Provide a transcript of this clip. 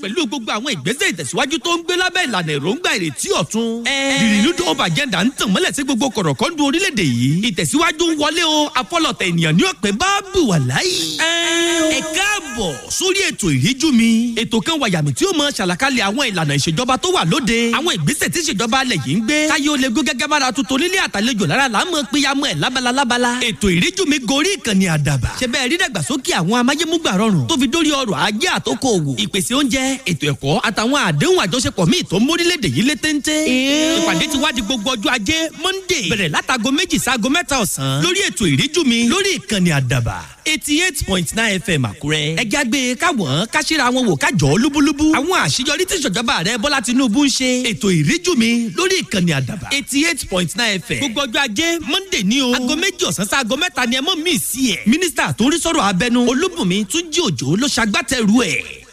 Pẹ̀lú gbogbo àwọn ìgbésẹ̀ ìtẹ̀síwájú tó ń gbé lábẹ́ ìlànà èròǹgbà ìrètí ọ̀tun. The Renewed Hope Agenda ń tàn mọ́lẹ̀ sí gbogbo kọ̀rọ̀kọ́ndù orílẹ̀-èdè yìí. Ìtẹ̀síwájú ń wọlé o, afọlọ̀tẹ̀ ènìyàn ní ọ̀pẹ bá bù wà láyé. Ẹ káàbọ̀ sórí ètò Ìríjú Mi. Ètò kan wàyàmì tí ó mọ ṣàlàkalẹ̀ àwọn ìlànà ìṣèjọba tó wà lóde. Àwọn ìgbésẹ̀ tí ìṣèjọba alẹ̀ yìí ń gbé. Káyé ó lè gún gẹ́gẹ́ bára tuntun nílé àtàlejò lára là ń mọ péyàmọ́ ẹ̀ lábala lábala. Ètò Ìríjú Mi gorí ìkànnì Àdàbà. Ṣé bẹ́ẹ̀ rí dàgbàsókè àwọn amáyémúgbà rọrùn tó fi dórí ọrọ̀ ajé àtòkò òwò. Ìpèsè oúnjẹ, ètò ẹ̀kọ́ àtàwọn àdéhùn àjọṣepọ̀ míì tó ń mórílẹ̀-èdè yìí lé téńté. Ìpàdé ti wá di gbogbo ọjọ́ Ajé Monday. Bẹ̀rẹ̀ látago 2 sáago 3 ọ̀sán. Lórí ètò Ìríjú Mi lórí ìkànnì Àdàbà 88.9 FM Àkúrẹ́. Ẹ jágbe káwọn káṣíra wọn wò kájọ lúbúlúbú. Àwọn àṣeyọrí tí ìṣèjọba rẹ Bọ́lá Tinubu ń ṣe. Ètò Ìríjú Mi lórí ìkànnì Àdàbà 88.9 FM. Gbogbo ọjọ́ Ajé Monday ní o. Aago 2 ọ̀sán sáago 3 ni ẹ mọ̀ mí sí ẹ̀. Mínísítà tó ń rí sọ̀rọ̀ abẹnú Olúbùnmi Túnjí Òjó ló ṣagbátẹrù ẹ̀.